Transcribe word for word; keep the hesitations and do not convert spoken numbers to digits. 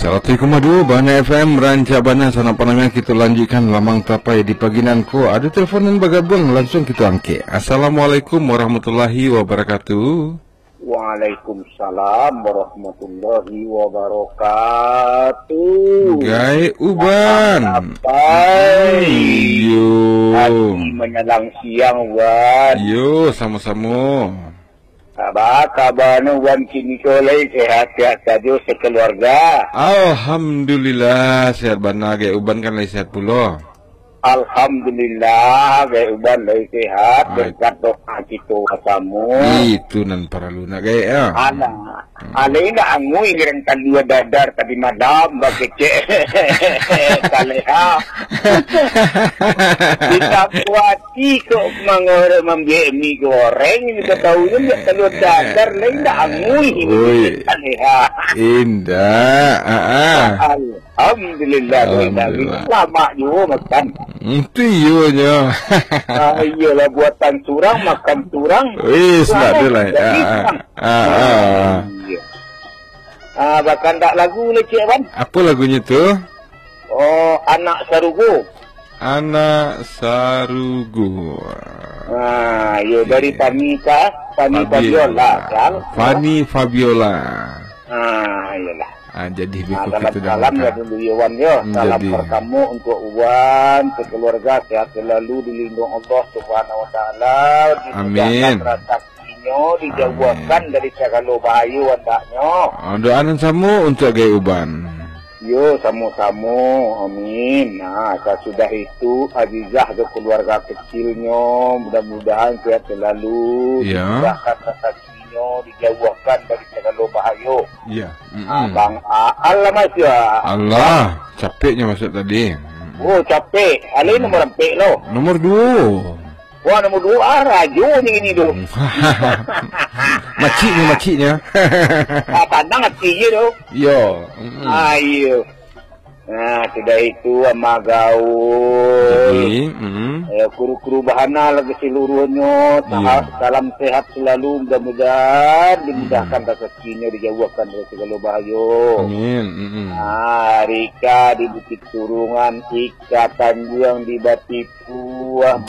Saratus koma duo Bahana F M, rancak bana sanak pandangar, kita lanjutkan Lamang Tapai di pagi nan ko. Ada telepon nan bagabuang, langsung kita angkek. Assalamualaikum warahmatullahi wabarakatuh. Waalaikumsalam warahmatullahi wabarakatuh. Gai Uban. Lamang Tapai. Iyo. Hati manyalang siang, Uban. Iyo, samo-samo. Kaba, kaba nu, Wan, kini ko lai sehat-sehat sajo sakeluarga? Alhamdulillah, sehat bana, Gai Uban kan lai sehat pulo. Alhamdulillah, Gai Uban lai sehat, berkat doa kito basamo. Itu nan paralu nak, Gai, ya. Alah, alai nak angui gerang talua dadar tadi malam, bakecek. Saleha. Kita buat Iko mangorek mambiak mi goreng, iko tahu nyo biak talua dadar, lai indak angui. Oi. Indak, ah, ah. Alhamdulillah, Alhamdulillah. Lamak juo makan. Itu iyo nyo. Ah, iyolah, buatan surang, makan surang. Wis, ndak ado lai. Ah, ah. Ah, ah. Iyo. Ah, bakandak lagu lah, Cik Wan. Apa lagunyo tu? Oh, Anak Sarugo. Anak Sarugo. Ah, iyo, dari Fani ka, Fani Fabiola, kan? Fani Fabiola. Ah, iyolah. Ah, jadi beko kita salam-salam lah dulu, yo, Wan, yo. Salam pertamo untuk Wan, sekeluarga sehat selalu, dilindungi Allah Subhanahu Wa Taala, dimudahkan rasakinyo, dijauahkan dari sagalo bahayo andaknyo. Ah, doa nan samo untuk Gai Uban. Yo, samo-samo. Amin. Nah, sasudah itu, Azizah jo keluarga kecilnyo, mudah-mudahan sehat selalu, dimudahkan rasakinyo, dijauahkan dari sagalo bahayo. Iya. Ah, Bang Aal lah, Mas, ya. Alah, capeknyo masuk tadi. Oh, capek. Alai nomor ampek lo. Nomor duo. Wah, nomor duo, ah, rajo ni kini tu. Maciknyo, maciknyo. Ah, tanang ati je tu. Yo. Ah, iyo. Nah, sudah itu, Amah Gaul. Jadi, mm. Ya, kuru-kuru Bahana lagi seluruhnyo. Iya. Salam sehat selalu, mudah-mudahan dimudahkan rasakinyo, dijauahkan dari segalo bahayo. Amin. Mm-mm. Ah, Rika di Bukit Turungan, Ika Tanjuang di Batipuah, Jadi.